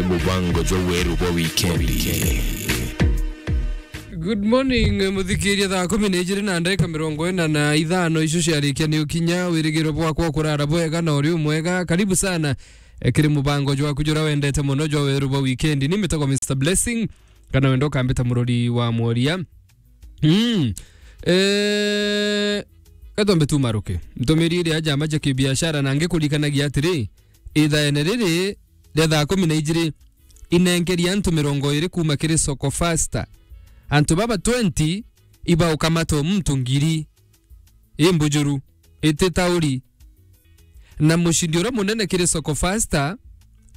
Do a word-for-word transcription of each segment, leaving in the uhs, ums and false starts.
Mubango jwa weru bwa wikendi. Good morning, muthikiria. Thaa kumi na ijiri na ndagika mirongo ina na ithano, icio ciarikia ni ukinya. Wirigiro bwakwa kurara bwega na uri umwega. Karibu sana, eh, kiri mubango jwaku jura wendete mono jwa weru bwa wikendi. Ni mitagwa Mister Blessing, kana wenda ukambita murori wa mworia. Mm. Eh, katwambe tumaruke. Ntumiri iria jama ja kibiashara na ngikurikanagia atiri, ithaene riri ria thaa kumi na ijiri, inenkeria antu mirongo iri kuuma kiri Soko Fasta. Antu baba twenty ibaukamata o muntu ngiri. I mbujuru, iti tauri. Na mucindi uria munene kiri Soko Fasta,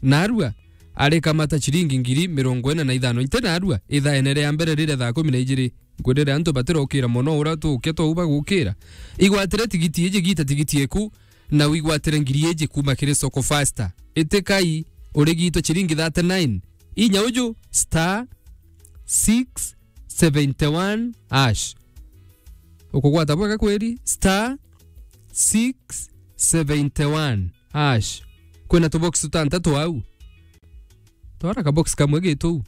narua, arikamata ciringi ngiri mirongo ina na ithano. Inte narua, ithaene ria mbere riria thaa kumi na ijiri, nkwirire antu batirokira mono uria tukia twauba gukira. Igwatire tigiti iji, gita tigiti eku, na wigwatire ngiri iji kuuma kiri Soko Fasta. Itikai, urigitwe ciringi thirty-nine. Inya uju, star six seventy-one hash. Ukugwata bwega kweri? Star six seventy-one hash. Kwina tubox tutantatu au. Twara kabox kamwe gitu.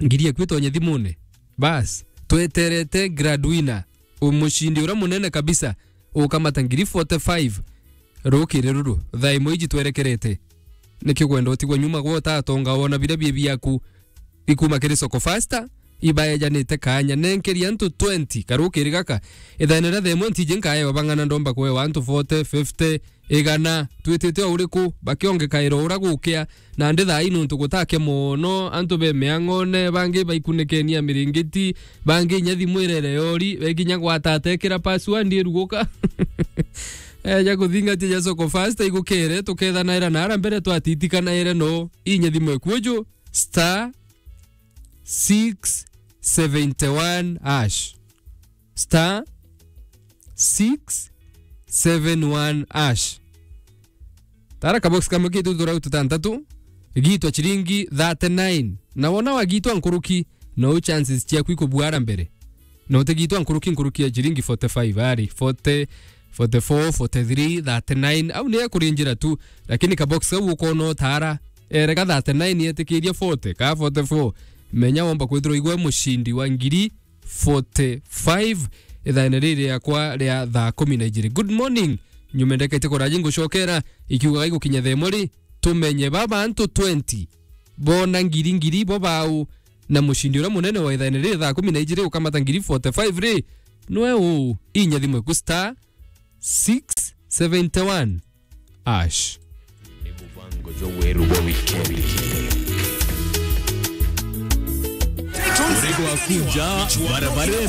Ngiri eku itonye thimune. Bas, tweterete grand winner, umucindi uria munene kabisa, ukamata ngiri forty-five. Rukiri ruru, thaa imwe iji twerekerete. Niki kwenda utigwa nyuma gwa utatonga wona biria bie biaku? Ikuma kiri Soko Fasta, ibaejanite kanya. Nenkeria antu twenty karukiri gaka. Ithaene ria thaa imwe ntiji nkaewa bang'ana, ndomba kuewa antu forty, fifty, igana, twitite o uriku, bakiongekaira ura gukia, na ndi thaa ii nuntu gutakia mono, antu be miang'one, bangi baikunikenia miringiti, bangi inya thimu irere yori, beginya gwatata ikira password iruguka. Eja kuthingatia ja Soko Fasta igukire, tukethanaira nara mbere twatitikanaire no, inya thimu ekuju, star six seventy-one hash. Star six seven one hash. Tara kabox kamwe kitu turau tutantatu, gitwa chiringi thirty-nine. Na wona wagitwa nkuruki, no chances ciaku ikubuara mbere. No utigitwa nkuruki, nkuruki ya chiringi forty-five, ari forty, forty-four, forty-three, thirty-nine, au ni ekurinjira tu, lakini kabox kau ukona utara, erega thirty-nine yetikiria forty, ka forty-four, menya womba kwithirwa igwe mucindi wa ngiri forty-five, ithaene riri riakwa ria thaa kumi na ijiri. Good morning. Nyuma ndekete kuraji ngucokera, ikiugaga igukinya thaa imwe ri, tumenye baba antu twenty bona ngiri ngiri bo bau, na mucindi uria munene wa ithaene riri thaa kumi na ijiri ukamata ngiri forty-five ri, nwe uu? Inya thimu eku star six seventy-one hash. Ni mubango jwa weru bwa wikendi. Urego wa kuja barabarene.